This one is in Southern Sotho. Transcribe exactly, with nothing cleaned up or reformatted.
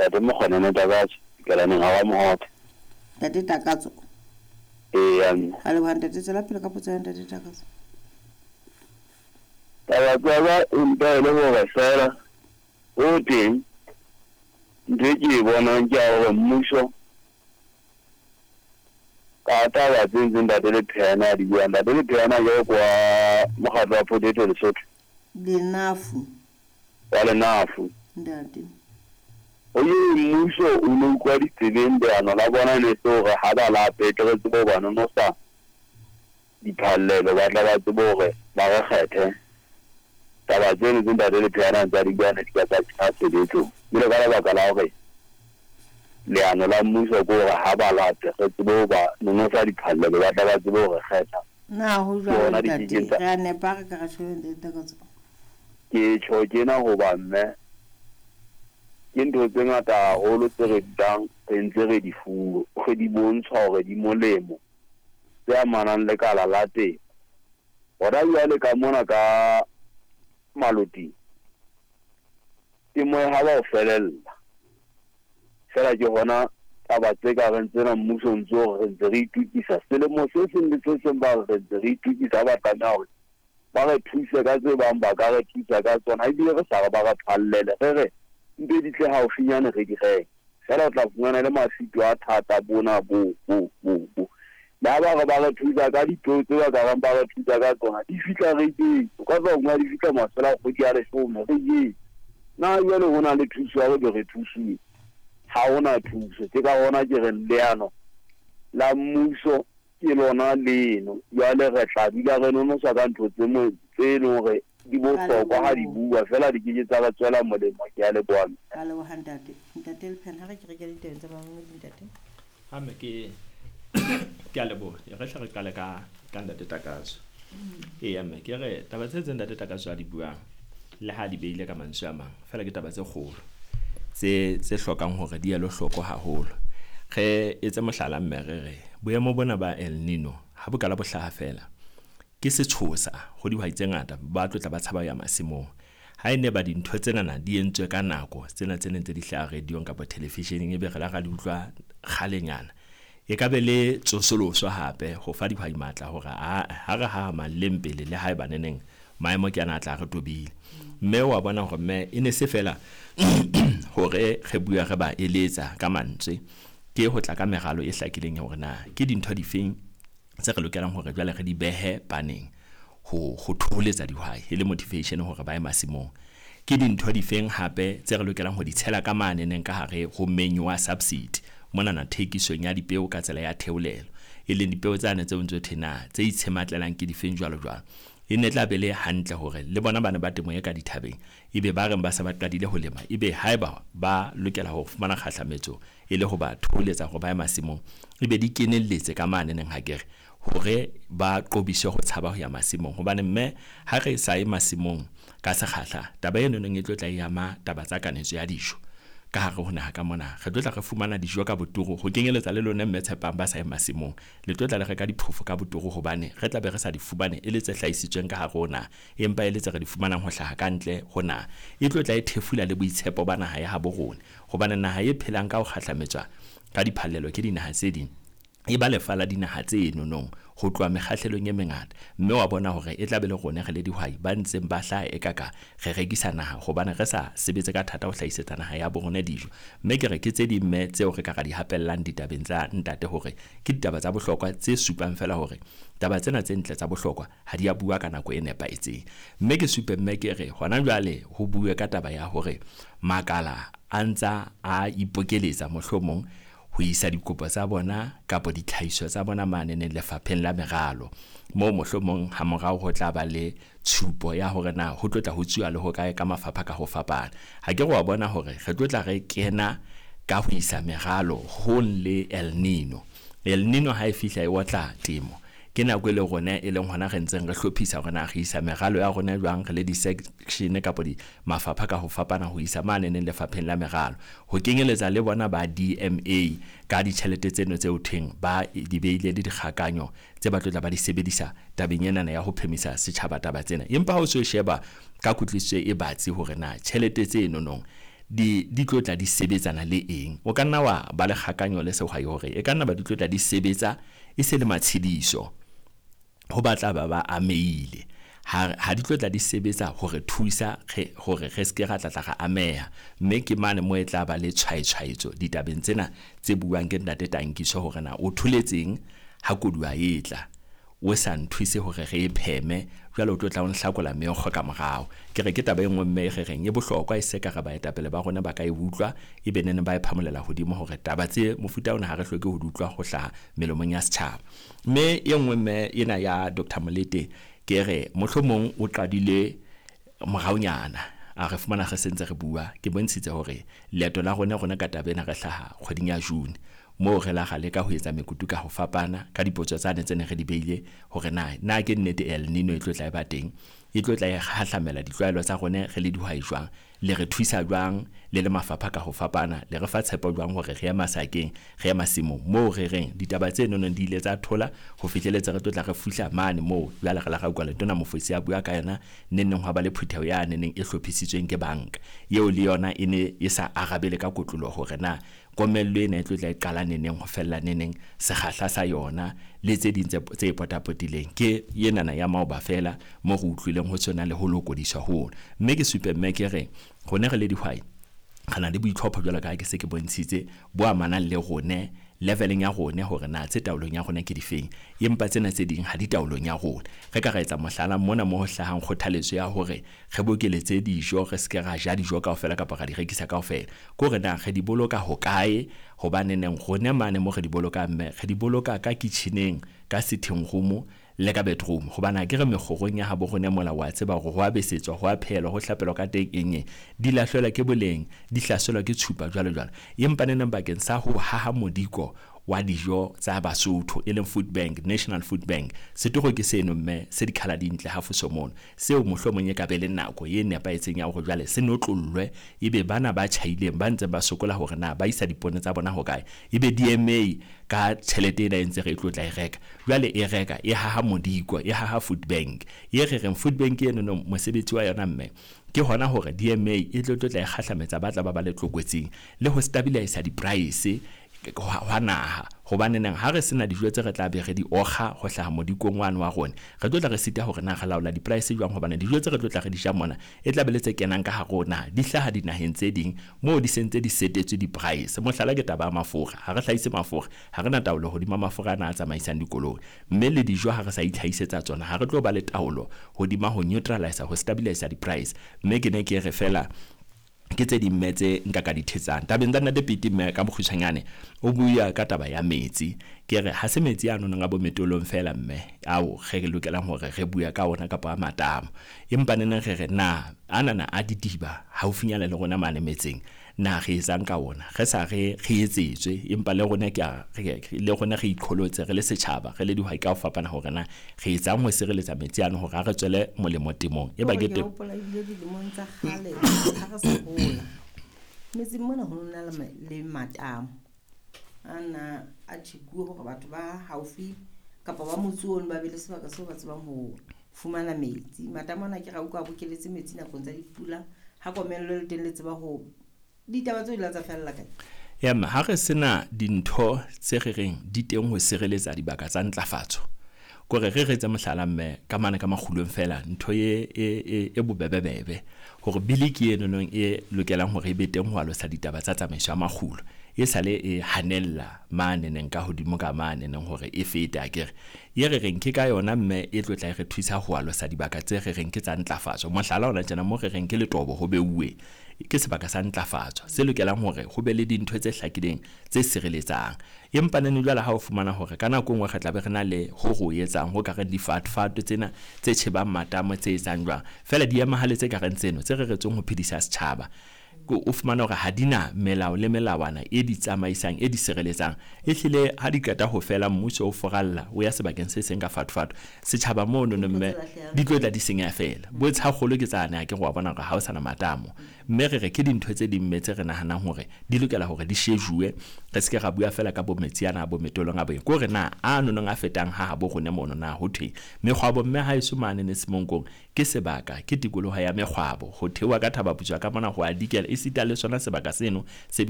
Ntate Mokgonene Takatso, Kelaneng ha wa Mohope. Ntate Takatso. Ee, mme. Ra leboha ntate, tswela pele ka potso ya ntate Takatso. Taba tsa ka empa e le hore fela ho teng ntho e ke e bonang ke ya hore mmuso ka taba tse ntseng ntate Lepheana a di buang. Ntate Lepheana jwalo kwa mokgatlo wa Potato Lesotho. Lenafu. Wa Lenafu. Ntate. O ye mmuso o no utlwa ditsebeng leano la bona ne se hore ha ba lape tle re tsebe ho ba nonosa diphallelo, ba tla ba tsebe hore ba re kgethe. Taba tseno tse ntate Lepheana ntse a di bua ne di ka tsa kenya tshebetsong. Ebile ka lebaka la hore leano la mmuso ke hore ha ba lape re tsebe ho ba nonosa diphallelo, ba tla ba tsebe ho re kgetha. Na ho Ke jwalo hona ntate, dikekeng tsa re a nepa re ka re tjho ntate Takatso. Ke tjho tjena hoba mme ke ntho tse ngata haholo tse re dulang re ntse re di fuwe, re di bontshwa hore di molemo tse amanang le kala la temo. Hona jwale ka mona ka Maloting temo e ha ba ho felella. Feela ke hona taba tse ka reng tsena mmuso o ntso hore re ntse re itokisa. Selemo se seng le se seng ba re re ntse re itokisa, ba tlameha hore ba re thuse ka tse bang ba ka re thusa ka tsona, ebile re sa re ba re phallele, re re mpe di tle haufinyane re di reke. Feela o tla fumana le mafito a thata bona bo, bo, bo, bo. Le ha ba re ba re thusa ka dipeo tse ba ka reng ba re thusa ka tsona, di fihla re jetse. O ka tswa nngwe di fihla mafelo a kgwedi ya leshome re jetse. Na jwale ho na le thuso ya hore re thusuwe? Ha hona thuso. Ke ka hona ke reng leano la mmuso ke lona leno. Jwale re tla dula re nonosa ka ntho tse mo tse leng hore di bohlokwa ha di bua, feela di keke tsa re tswela molemo. Ke a leboha. Ra leboha ntate. Ntate Lepheana, ha re ke re ke ditabeng tsa bamamedi ntate. Ha mme ke ke a leboha. E re hle re qale ka ka ntate Takatso. Eya mme ke re taba tse tse ntate Takatso a di buang le ha di beile ka mantswe a mang, feela ke taba tse kgolo tse tse hlokang hore di elwe hloko haholo. Re etse mohlala mme re re boemo bona ba El Nino ha bo kala bo hlaha feela ke setshosa ho dihwai tse ngata ba tlo tla ba tshaba ho ya masimong. Ha e ne ba dintho tsenana di entswe ka nako tsena tse neng tse di hlaha radio-ong kapa television-eng, ebe re la ra di utlwa kgalenyana, e ka be le tsosoloso hape ho fa dihwai matla hore a ha re haha leng pele le haeba neneng maemo ke ana a tla re tobile. Mme wa bona hore mme e ne se fela hore re bua re ba eletsa ka mantswe, ke ho tla ka meralo e hlakileng ya hore na ke dintho difeng tse re lokelang hore jwale re di behe paneng ho ho thoholetsa dihwai e le motivation hore ba ye masimong. Ke dintho difeng hape tse re lokelang ho di tshela ka mane neng ka hare ho manure subsidy monana thekisong ya dipeo ka tsela ya theolelo, e leng dipeo tsane tseo ntso thwe na tse itshematlelang ke difeng jwalo jwalo. E ne tla be le hantle hore le bona bana ba temo e ka dithabeng ebe ba reng ba se ba qadile ho lema, ebe haeba ba lokela ho fumana kgahlametso e le ho ba thoholetsa hore ba ye masimong, ebe di kenelletse ka mane neng ha ke re hore ba qobiswe ho tshaba ho ya masimong. Hobane mme ha re sa ye masimong ka sekgahla, taba eno neng e tlo tla e ama taba tsa kanetso ya dijo ka hare ho naha ka mona. Re tlo tla re fumana dijo ka boturu ho kenyeletsa le lona mme Tshepang ba sa ye masimong, le tlo tla le reka diphofo ka boturu hobane re tla be re sa di fumane e le tse hlahisitsweng ka hare ho naha, empa e le tse re di fumanang ho hlaha ka ntle ho naha. E tlo tla e thefula le boitshepo ba naha ya habo rona, hobane naha e phelang ka ho kgahlametswa ka diphallelo ke dinaha tse ding e ba lefa la dinaha tse nonong ho tloha mekgahlelong e mengata. Mme wa bona hore e tla be le rona re le dihwai ba ntseng ba hlaha e ka ka re rekisa naha hobane re sa sebetse ka thata ho hlahisetsa naha ya bo rona dijo. Mme ke re ke tse ding mme tseo re ka ra di hapellang ditabeng tsa ntate hore ke ditaba tsa bohlokwa tse supang feela hore taba tsena tse ntle tsa bohlokwa ha di a bua ka nako e nepahetseng. Mme ke supe mme ke re hona jwale ho bue ka taba ya hore makala a ntsa a ipokeletsa mohlomong ho isa dikopo tsa bona kapa ditlhahiso tsa bona mane neng lefapheng la meralo, moo mohlomong ha morao ho tla ba le tshupo ya hore na ho tlo tla ho tsuwa le ho kae ka mafapha ka ho fapana. Ha ke re wa bona hore re tlo tla re kena ka ho isa meralo hong le El Nino. El Nino ha e fihla e otla temo, ke nako e le rona e leng hona re ntseng re hlophisa hore na re isa meralo ya rona jwang re le di-section kapa di mafapha ka ho fapana ho isa mane neng lefapheng la meralo, ho kenyeletsa le bona ba D M A ka ditjhelete tseno tse ho thweng ba di beile le dikgakanyo tse ba tlo tla ba di sebedisa tabeng enana ya ho phemisa setjhaba taba tsena. Empa ha o so sheba ka kutlwisiso e batsi hore na tjhelete tse nonong di di tlo tla di sebetsana le eng. O ka nna wa ba le kgakanyo le sehwai hore e ka nna ba di tlo tla di sebetsa e se le matshediso ho batla ba ba ameile. Ha ha di tlo tla di sebetsa hore thusa hore re ske ra tla tla ra ameha, mme ke mane mo e tla ba le tshwaetshwaetso ditabeng tsena tse buang ke ntate Tankiso hore na o tholetseng ha koduwa e tla o sa nthuse hore re e pheme, jwale o tlo tla o nhlakola meokgo ka morao. Ke re ke taba e nngwe mme re reng e bohlokwa, e se ka re baetapele ba rona ba ka e utlwa e be nene ba e phamolela hodimo hore taba tse mofuta ona ha re hloke ho di utlwa ho hlaha melomong ya setjhaba. Mme e nngwe mme ena ya Doctor Molete, ke re mohlomong o qadile moraonyana a re fumana re sentse re bua. Ke bontshitse hore leeto la rona rona ka taba ena re hlaha kgweding ya June, moo re la ga leka ho etsa mekutu ka ho fapana ka dipotso tsane tse ne re di beile hore na na ke nnete El Nino e tlo tla e ba teng, e tlo tla e hahlamela ditlwaelo tsa rona re le dihwai jwang, le re thusa jwang le le mafapha ka ho fapana, le re fa tshepo jwang hore re ya masakeng, re ya masimong moo re reng ditaba tse nonong di ile tsa thola ho fihleletse re tlo tla re fihla mane moo. Jwale re la ra utlwa Letona Mofosi a bua ka yona neneng hwa ba le phutheho ya neneng e hlophisitsweng ke banka eo, le yona e ne e sa arabele ka kotloloho hore na komello ena e tlo tla e qala neneng ho fella neneng, sekgahla sa yona le tse ding tse potapotileng. Ke enana ya maoba fela mo re utlwileng ho tshwana le ho lokodiswa ho. Mme ke supe mme ke re rona re le dihwai re na le boitlhopho jwalo ka ha ke se ke bontshitse bo amanang le rone leveleng ya rone hore na tse taolong ya rona ke difeng, empa tsena tse ding ha di taolong ya rona. Re ka ra etsa mohlala mona mo ho hlahang kgothaletso ya hore re bokeletse dijo, re ske ra ja dijo kaofela kapa ra di rekisa kaofela, ke hore na re di boloka hokae, hobane neng rone mane mo re di bolokang mme re di boloka ka kitcheneng, ka sitting room le ka bedroom, hobane ha ke re mekgorong ya habo rona mola wa tseba hore ho a besetswa, ho a phelwa, ho hlapelwa ka teng eng eng, di lahlelwa ke boleng, di hlaselwa ke tshupa jwalo jwalo. Empa neneng bakeng sa ho haha modiko wa dijo tsa Basotho e leng food bank, National Food Bank, setoro ke seno mme se dikhala dintle hafoso mono, seo mohlomong e ka be le nako e nepahetseng ya hore jwale se notlollwe, ebe bana ba tjhaileng ba ntseng ba sokola hore na ba isa dipone tsa bona hokae, ebe D M A ka tjhelete ena e ntse re e tlo tla e reka jwale, e reka e haha modiko, e haha food bank. E re reng food bank eno no mosebetsi wa yona mme ke hona hore D M A e tlo tlo tla e kgahlametsa ba tla ba ba le tlokotsing le ho stabilize di-price hwa naha, hobane neng ha re sena dijo tse re tla be re di okga ho hlaha modikong wane wa rona, re tlo tla re sita hore na re laola di-price jwang, hobane dijo tse re tlo tla re di ja mona e tla be le tse kenang ka hare ho naha di hlaha dinaheng tse ding moo di sentse di setetswe di-price. Mohlala ke taba ya mafura, ha re hlahise mafura, ha re na taolo hodima mafura ana a tsamaisang dikoloi, mme le dijo ha re sa itlhahisetsa tsona ha re tlo ba le taolo hodima ho neutralize, ho stabilize di-price. Mme ke ne ke re fela ke tse ding mme tse nka ka di thetsang tabeng tsa Ntate Pete. Mme ka bokgutshwanyane o bua ka taba ya metsi, ke re ha se metsi a nonong a bo metolong fela mme ao re lokelang hore re bua ka ona kapa a matamo, empa neneng re re na anana a didiba haufinyana le rona mane metseng na re etsang ka ona, re sa re re etsetswe, empa le rona ke a le rona re iqholotse re le setjhaba re le dihwai ka ho fapana hore na re etsang ho sireletsa metsi ano hore a re tswele molemo temong. E ba ke teng hopola ebile dilemong tsa kgale ha re sa hola metseng mona ho nna le matamo ana a tjhekuwe hore batho ba haufi kapa ba motse ono ba be le sebaka seo ba tsebang ho fumana metsi. Matamo ana ke ra utlwa a bokeletse metsi nakong tsa dipula, ha komello le teng le tseba ho ditaba tseo di la tsa fella kae. Ya mme ha re sena dintho tse re reng di teng ho sireletsa dibaka tsa ntlafatso, kore re re tse mohlala mme ka mane ka makgulong fela ntho e e e bobebebebe hore bili ke eno nong e lokelang hore e be teng ho alosa ditaba tsa tsamaiso ya makgulo, e sale e hanella mane neng ka hodimo ka mane neng hore e fete akere ye re reng ke ka yona mme e tlo tla e re thusa ho alosa dibaka tse re reng ke tsa ntlafatso. Mohlala ona tjena mo re reng ke letobo ho beuwe ke sebaka sa ntlafatso se lokelang hore ho be le dintho tse hlakileng tse sireletsang, empa nene jwale ha o fumana hore ka nako nngwe re tla be re na le ho ho etsang ho ka reng difatfato tsena tse tjhebang matamo tse etsang jwang fela di emahale tse ka reng tseno tse reretsweng ho phedisa setjhaba, o fumana hore ha di na melao le melawana e di tsamaisang e di sireletsang, e hlile ha di qeta ho fela mmuso o foralla o ya sebakeng se seng ka fatfato setjhaba mono mme di tlo tla di senyeha fela. Bo tshakgolo ke tsane ha ke go bona hore ha o sana matamo, mme re re ke dintho tse ding mme tse re nahanang hore di lokela hore di shejuwe, re seke ra bua fela ka bo metsi ana bo metolong a boeng, ke hore na a nonong a fetang ha habo rone mono na ho thweng mekgwabo mme ha eso mane ne Semonkong ke sebaka ke tikoloho ya mekgwabo ho theoha ka Thaba Putswa ka mona ho a dikela Esita le sona sebaka seno se bitswang